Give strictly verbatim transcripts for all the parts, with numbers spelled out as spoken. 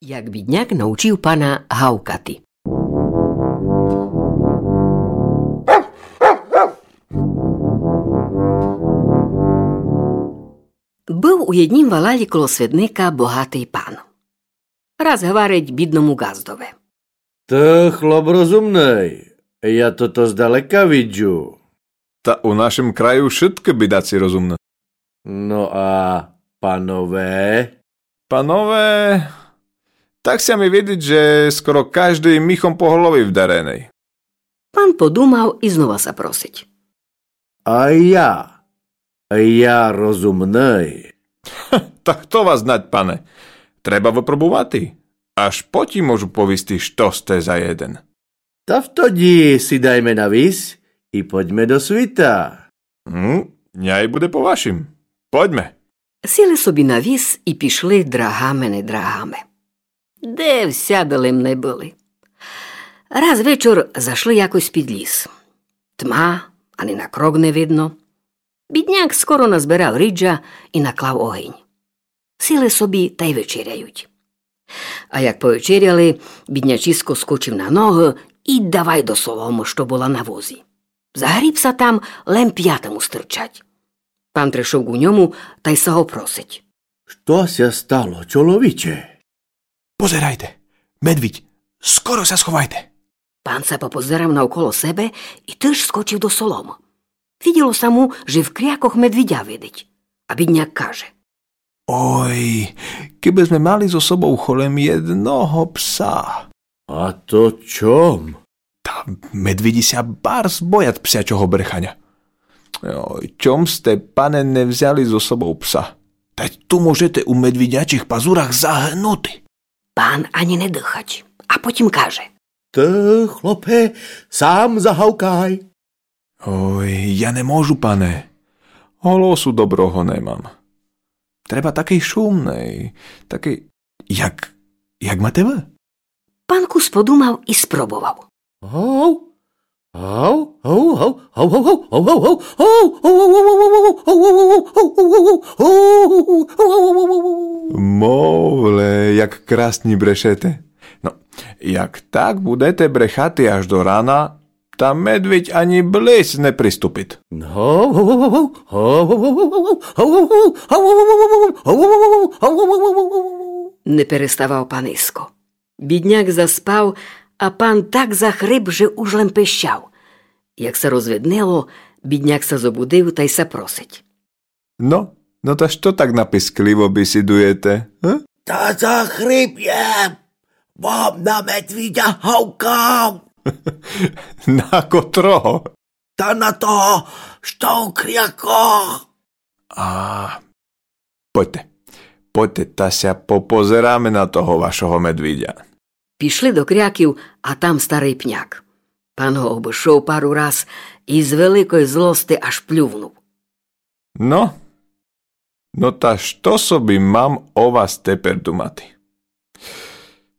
Як бідняк научив пана гавкати. Быв у єднім валалі коло свидника богатый пан. Раз гварить бідному ґаздови: Ты хлоп розумный, я тото здалека виджу. Та у нашым краю вшыткы бідаци розумны. Но а панове? Панове, так ся ми видить, же скоро каждый міхом по голови вдареный. Пан подумав и знова ся просить: А я? Я розумный. Та хто вас знать, пане? Треба выпробувати. Аж потім можу повісти, што сте за єден. Та втоді сідайме на віз и пойдьме до світа. Ну, няй буде по вашім. Пойдьме. Сіли собі на віз и пішли драгами-недрагами. Де всяды лем не были. Раз вечор зашли якось під ліс. Тма, ани на крок не видно. Бідняк скоро назбирав риджа и наклав огинь. Сіли собі тай вечеряють. А як повечеряли, біднячиско скочив на ногы и давай до соломы, што была на возі. Загріб ся там, лем пята му стырчать. Пан пришов ку ньому тай ся го просить: Што ся стало, чоловіче? Позирайте, медвідь, скоро ся сховайте. Пан ся попозирав навколо себе и тыж скочив до соломы. Виділо ся му, же в крякох медвідя видить. А бідняк каже: Ой, кибы зме мали зо собов холем єдного пса. А то чом? Та медвідї ся барз боят псячого бреханя. Ой, чом сте, пане, не взяли зо собов пса? Та ту можете у медвідячих пазурах загынути. Пан ани не дыхать, а потім каже: Ты, хлопе, сам загавкай. Ой, я не можу, пане. Голосу доброго не мам. Треба такый шумный, такый, як, як мате вы. Пан кус подумав и спробовав. Гав, гав, гав. Мовле, як красні брешете. Но, як так будете брехати аж до рана, та медвідь ани близь не приступит. Не переставав паниско. Бідняк заспав, а пан так захрип, же уж лем пищав. Як ся розвиднило, бідняк ся зобудив тай ся просить. Но, но та што так напискливо бисідуєте, га? Та захрип єм, бо на медвідя гавкав. На котрого? Та на того, што у кряках. А, пойте, пойте, та ся попозираме на того вашого медвідя. Пішли до кряків, а там старый пняк. Пан го обышов пару раз и з великой злости аж плювнув. Но, но та што собі мам о вас тепер думати?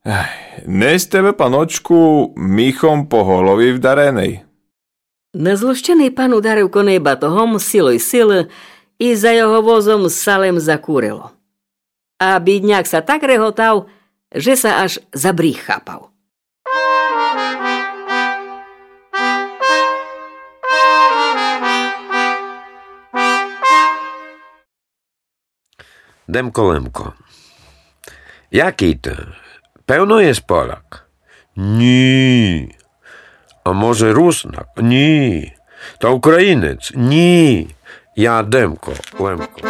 Ай, не сте вы, паночку, міхом по голові вдареный. Незлощеный пан ударив коней батогом з цілой силы, и за його возом ся лем закурило. А бідняк ся так реготав, же ся аж за бріг хапав. Демко Лемко. Якый ты? Певно єсь Поляк? Ні. А може Руснак? Ні. Та Українець? Ні. Я Демко Лемко.